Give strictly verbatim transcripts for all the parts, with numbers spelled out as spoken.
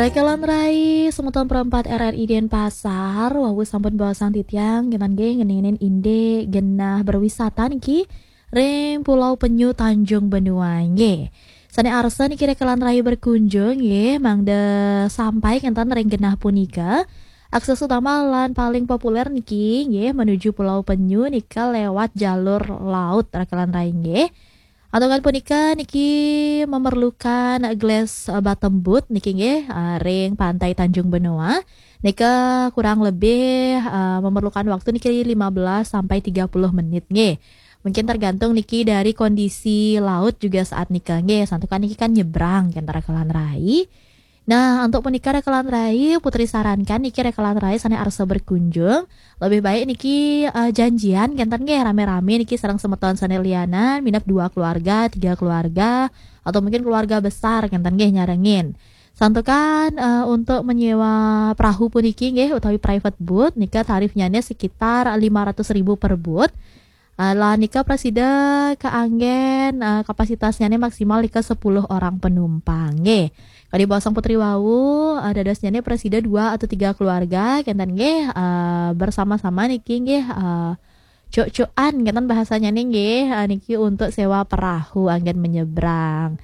Rekelan rai semeton perempat R R I Denpasar, wau sampun baosang titiang, kénten nggih ngeninin indik genah berwisata niki ring Pulau Penyu Tanjung Benoa nggih. Sané arsa niki rekelan rai berkunjung nggih, mangda sampai kénten ring genah punika. Akses utama lan paling populer niki nggih menuju Pulau Penyu nika lewat jalur laut rekelan rai nggih. Antuk punika niki memerlukan glass, eh, bottom boat niki nggih, eh, ring Pantai Tanjung Benoa. Nika kurang lebih, eh, memerlukan waktu niki lima belas sampai tiga puluh menit nggih. Mungkin tergantung niki dari kondisi laut juga saat nika nggih. Santukan niki kan nyebrang ke antara rekelan rai. Nah, antuk punika rekelan rai, Putri sarankan niki rekelan rai sané arsa berkunjung, lebih baik niki, eh, janjian kénten nggih, ramé-ramé niki sareng semeton sané lianan, minab dua keluarga, tiga keluarga, atau mungkin keluarga besar kénten nggih nyarengin. Santukan, eh, untuk menyewa perahu puniki nggih utawi private boat nika tarifnyané sekitar lima ratus ribu per boat. Eh, lan nika prasida kaanggén, eh, kapasitasnyané maksimal nika sepuluh orang penumpang nggih. Kadi baosang Putri wau, eh, dadosnyané prasida dua atau tiga keluarga kénten nggih, eh, bersama-sama niki nggih, eh, cuk-cukan kénten bahasanyané nggih, eh, niki untuk sewa perahu anggén menyeberang.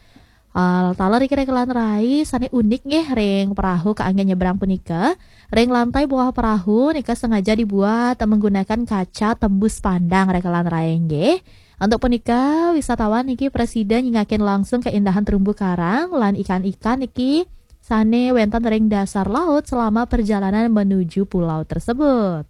Eh, taler niki rekelan rai sané unik nggih ring perahu kaanggén nyebrang punika. Ring lantai bawah perahu nika sengaja dibuat menggunakan kaca tembus pandang rekelan rai nggih. Antuk punika, wisatawan niki prasida nyingakin langsung keindahan terumbu karang lan ikan-ikan niki sané wénten ring dasar laut selama perjalanan menuju pulau tersebut.